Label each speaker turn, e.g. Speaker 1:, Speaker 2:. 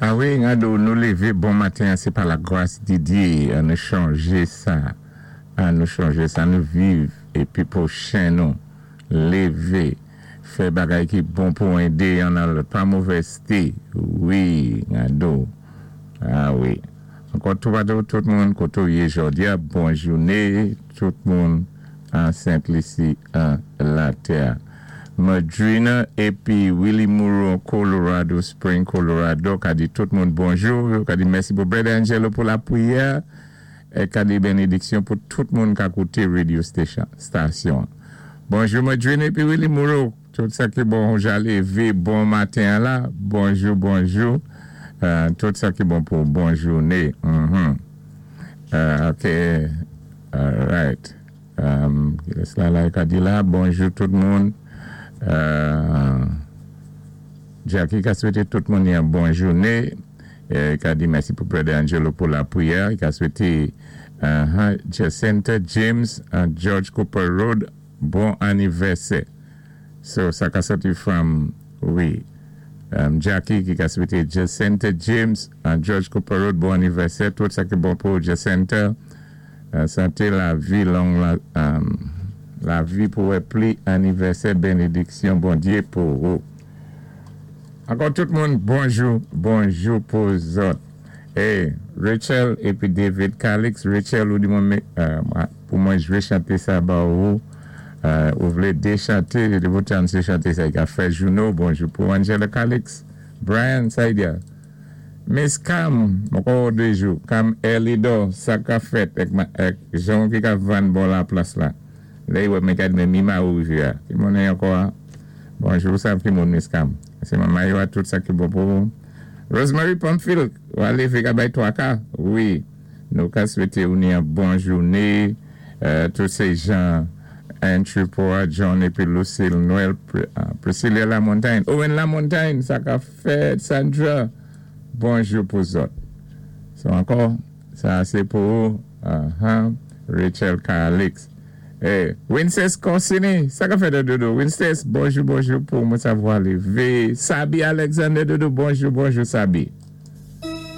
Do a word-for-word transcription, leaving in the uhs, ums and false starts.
Speaker 1: A wi, gado, nou lévé bon maten, sé pa la gwas di Diyé, an nou chanjé sa, an nou chanjé sa, nou viv, épi pwochen nou, lévé, fè bagay ki bon pou édé youn an lòt, pa movèzté, wi, gado, a wi. Ankò tou tout moun koté ou yé jòdi a, bon jouné, tout moun an Sent Lisi an latè. Madrina épi Willie Moreau, Colorado Spring, Colorado, ka di tout moun bonjou, ka di mèsi pou Brother Angelo pou lapriyè, é ka di bénédiksyon pou tout moun ka kouté radio station, station. Bonjou Madrina épi Willie Moreau, tout sa ki bon, ja lévé bon maten la, bonjou, bonjou, euh, tout sa ki bon pou bon jouné. Mm-hmm. Euh, ok, all right. Um, la la ka di la, bonjou tout moun. Euh, Jackie ka swété tout moun yon bon jouné. Euh, ka di mèsi pou Brother Angelo pou lapriyè. Li ka swété uh, Jacinta James and George Cooper Road bon anivèsè. So, sa ka sòti from, wi, um, Jackie ki ka swété Jacinta James and George Cooper Road bon anivèsè. Tout sa ki bon pou Jacinta. Euh, santé lavi long, la, um, lavi pou wè pli anivèsè bénédiksyon Bondyé pou ou. Ankò tout moun, bonjou, bonjou pou zòt. Hey, Rachel épi David Calix, Rachel ou di mwen, euh, pou mwen jwé chanté sa ba ou, euh, ou vlé dé chanté, de boutan sé chanté sa, i ka fè jounou, bonjou pou Angela Calix, Brian Saidia, Miss Cam, ankò dé jou, Cam Elido, sa ka fèt, èk, èk jan ki ka vann bò la plas la. Lè wè mwen ka di mi ma ou ya. Ki moun ankò? Bonjou, sa ki moun Miss Cam. Sé manman yo a tout sa ki bon pou ou. Rosemary Pamphile, ou alé fè bay twa ka. Wi, nou ka swété ou ni yon bon jouné. Euh, tous ces gens, Andrew Poa, John épi Lucille Noël, Priscilla Lamontagne, Owen Lamontagne, sa ka fèt, Sandra, bonjou pou zòt. So ankò, sa sé pou uh -huh, Rachel Calix. Hey, Wincest Corsini, sa ka fèt dodo. Wincest, bonjou, bonjou pou mwen savwa lévé. Sabi Alexander dodo, bonjou, bonjou Sabi.